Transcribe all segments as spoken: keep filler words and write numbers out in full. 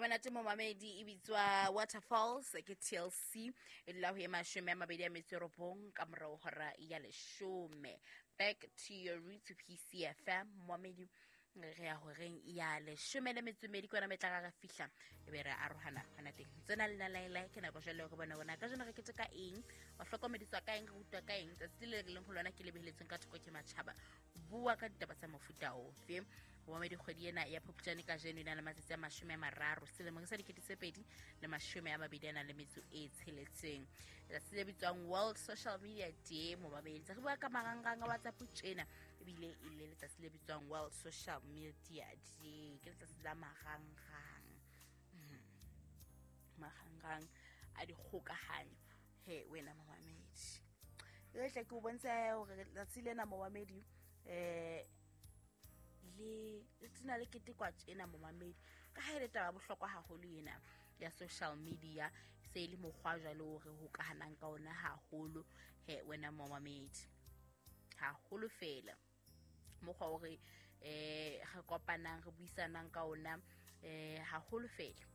Monate momamedi e bitswa Waterfalls ke T L C e dula ho e mashome a mabedi a metso e robong ka morao hora ya leshome. Back to your roots P C F M momamedi re ya horeng ya leshome le metso e mmedi kwana metla re fihla e be re arohana hona teng. Tsena le nalaela ke nako jwale re bona bona ka jeno re keteka eng, wa hlokomediswa ka eng, re rutwa ka eng tsatsi le leng ho lona ke lebeletseng ka thoko ke matjhaba bua ka ditaba tsa mofuta ofe. Momamedi kgwedi ena ya Phupjane ka jeno e na le matsatsi a mashome a mararo selemong sa dikete tse pedi le mashome a mabedi a nang le metso e tsheletseng. Letsatsi le bitswang World Social Media Day momamedi re bua ka marangrang a WhatsApp tjena ebile e le letsatsi le bitswang World Social Media Day, ke letsatsi la marangrang marangrang a dikgokahanyo. He wena momamedi e tle ke o bontshe hore letsatsi lena momamedi eh le tsena le ketekwa tjena momamedi ka ha e le taba bohlokwa haholo ena ya social media se le mokgwa jwalo hore ho kahanang ka ona haholo. He wena momamedi haholo fela mokgwa hore eh re kopanang re buisanang ka ona eh haholo fela.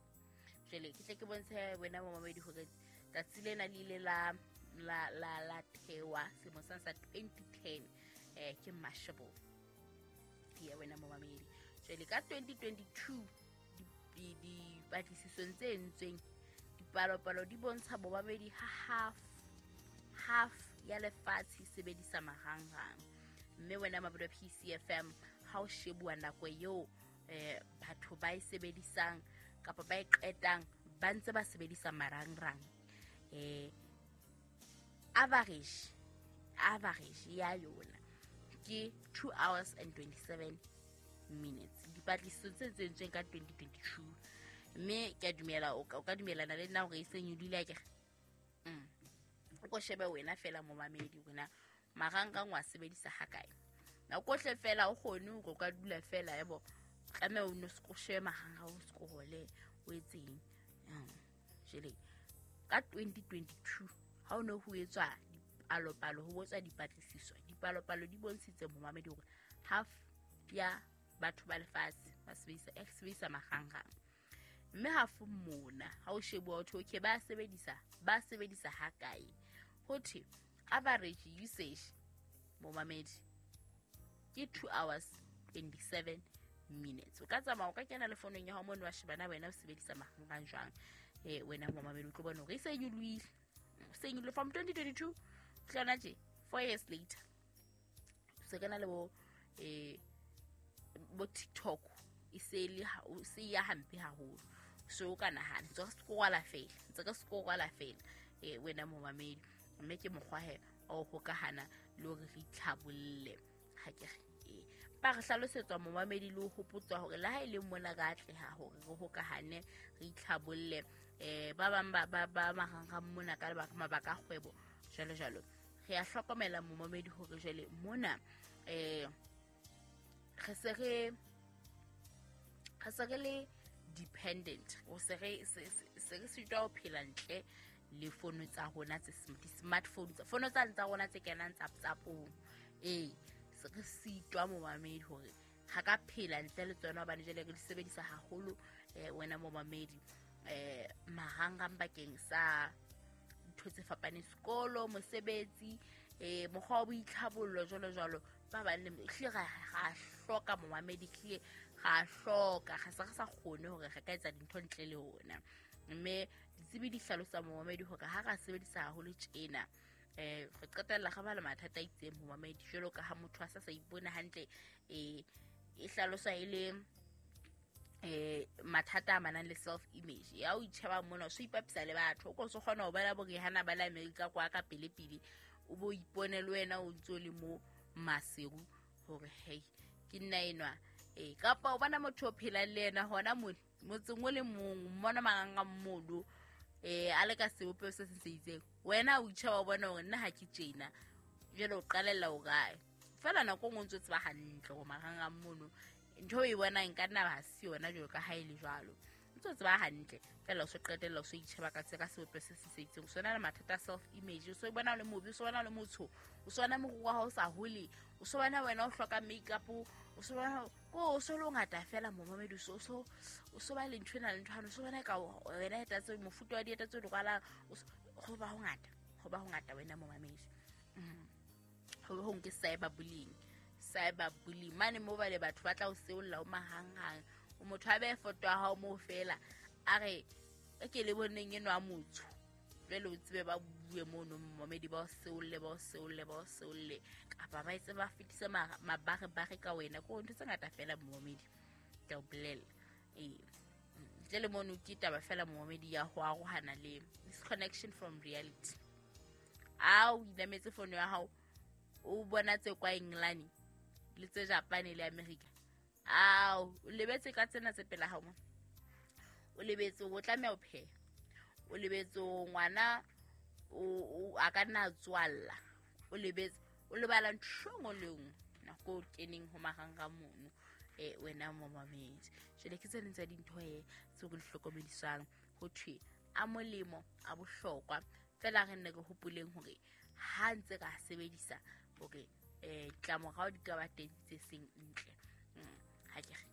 Jwale ke tle ke bontshe wena momamedi hore tsatsi lena le ile la la la la thewa selemo sa twenty ten eh ke Mashable ya wena momamedi. Jwale ka twenty twenty-two di di patlisisong tse entsweng dipalopalo di bontsha momamedi ha half half ya lefatshe sebedisa marangrang. Mme wena mabodo P C F M ha o shebuwa nako eo eh batho ba e sebedisang kapa ba e qetang ba ntse ba sebedisa marangrang eh average average ya yona ke two hours and twenty-seven minutes. Dipatlisiso tse entsweng ka twenty twenty-two mme ke a dumela o ka dumelana le nna hore e seng e dula ke mm o ko shebe wena fela momamedi wena marangrang wa sebedisa ha kae nako hle fela o kgone hore o ka dula fela yebo tlameha o no se shebe marangrang o scrolle o etseng. Jele ka twenty twenty-two ha o no ho etswa dipalopalo ho botswa dipatlisiso dipalopalo di bontshitse momamedi hore half ya batho ba lefatshe ba sebedisa e sebedisa marangrang. Mme half mona ha o shebuwa ho okay ba sebedisa ba sebedisa ha kae ho thwe average usage momamedi ke two hours twenty-seven minutes. O ka tsamaya o ka kena le fonong ya hao mono wa shebana wena o sebedisa marangrang jwang eh wena momamedi o tlo bona hore e se nyolohile se nyolohile from twenty twenty-two hlona tje four years later se kana le bo eh bo TikTok e se le se ya hampe haholo so o ka nahana tse re scrolla fela tse re scrolla fela eh wena momamedi mme ke mokgwa he o hokahana le hore re itlhabolle ha ke re eh ba re hlalosetswa momamedi le ho hopotswa hore le ha e le mona ka atleha hore re hokahane re itlhabolle eh ba bang ba ba ba marangrang mona ka lebaka mabaka a kgwebo jwalo jwalo. Re a hlokomela momamedi hore jwale mona eh re se re re se re le dependent o se re se re sitwa ho phela ntle le fono tsa rona tse smartphone tsa fono tsa tsa rona tse kenang tsa WhatsApp-ong eh se re sitwa momamedi hore ha ka phela ntle le tsona hobane jwale re di sebedisa haholo eh wena momamedi eh marangrang bakeng sa ntho tse fapaneng sekolo mosebetsi eh mokgwa wa boitlhabollo jwalo jwalo ba bang le hle ra hloka momamedi hle ra hloka ga se re sa kgone hore re ka etsa dintho ntle le ona. Mme ditsebi di hlalosa momamedi hore ha ra sebedisa haholo tjena eh re qetella ga ba le mathata a itseng momamedi jwalo ka ha motho a sa sa ipone hantle eh e hlalosa e le eh mathata a manang le self image ya o itsheba mona o so ipapisa le batho o ko se kgona ho bala bo Rihanna ba la America kwa ka pele pele o bo ipone le wena o ntso le mo Maseru hore hey ke nna enwa eh kapa o bona motho o phelang le yena hona mo motseng o le mong mmona maranga mmodo eh a le ka sebopeho se seng se itseng wena o itsheba o bona hore nna ha ke tjena jwale o qalella o kae fela nako nngwe o ntso tseba hantle hore marangrang mono ntho e bonang ka nna ha se yona jwalo ka ha e le jwalo. Ntse ntse o tseba hantle fela o so qetella o so itjheba ka tse ka sebopeho se se itseng. O so na le mathata a self image, o so bona o le mobe, o so bona o le motsho, o so bona moriri wa hao o sa hole, o so bona wena o hloka makeup, o so bona ko o so le o ngata fela momamedi, o so so o so ba le ntho ena le ntho o so bona ka wena eta tse mofuta wa dieta tse di rwalang, ho ba ho ngata, ho ba ho ngata wena momamedi. Ho ho nke cyber bullying, cyber bullying mane mo ba le batho ba tla o seolla o mahanghang, o motho a behe foto ya hao moo fela a re e ke le boneng eno a motsho, jwale o tsebe ba bue mono momamedi, ba o seolle, ba o seolle, ba o seolle, kapa ba etse ba fetise mabarebare ka wena. Ko ntho tse ngata fela momamedi, ke a o bolella. Ee, ntle le mono ke taba fela momamedi ya ho arohana le disconnection from reality. A o inametse fono ya hao, o bona tse kwa England le tse Japan le America, ao o lebetse ka tsena tse pela hao, o lebetse o tlameha o pheha, o lebetse ngwana o a ka nna tswalla, o lebetse o lebala ntho e nngwe le nngwe nako o keneng ho marangrang mono. Eh wena momamedi, jwale ke tse ding tsa dintho e tseo re di hlokomedisang ho thwe a molemo a bohlokwa fela re nne re hopoleng hore ha ntse ka sebedisa hore eh ditlamorao di ka ba teng tse seng ntle. Ha ke re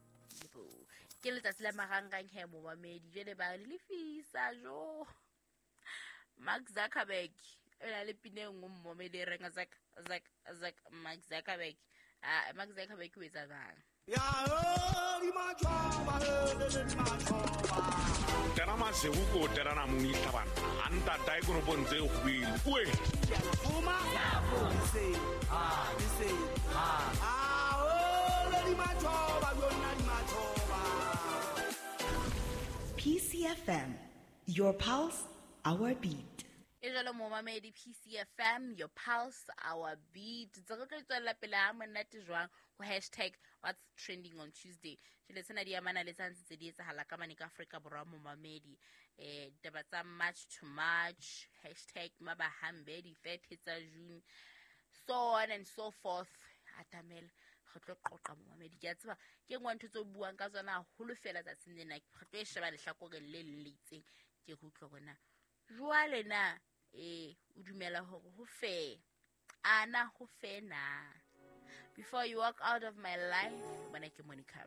ke letsatsi la marangrang he momamedi, jwale ba re lefisa jo Mark Zuckerberg o na le pina e nngwe momamedi e reng Zuck Zuck Zuck Mark Zuckerberg. Ah, Mark Zuckerberg o etsa jwang? Tera masego ko terana mong itlhabana a ntatae koropong tse kgwele oe. P C F M, your pulse, our beat. E jwalo momamedi, P C F M, your pulse, our beat. Tse re tlo tswella pele ha monate jwang ho hashtag what's trending on Tuesday. Jwale tsena di amana le tsa ntse tse di etsahala ka mane ka Afrika Borwa momamedi. Eh ditaba tsa March to March, hashtag mabahambe, di-thirty tsa June, so on and so forth. Atamela re tlo qoqa momamedi. Ke a tseba ke nngwe ntho tse o buang ka tsona haholo fela tsatsing lena. Re tlo e sheba lehlakoreng le leng le itseng. Ke re utlwe hore na jwale na eh o dumela hore ho fe ana ho fe na. Before you walk out of my life, bona ke Monica.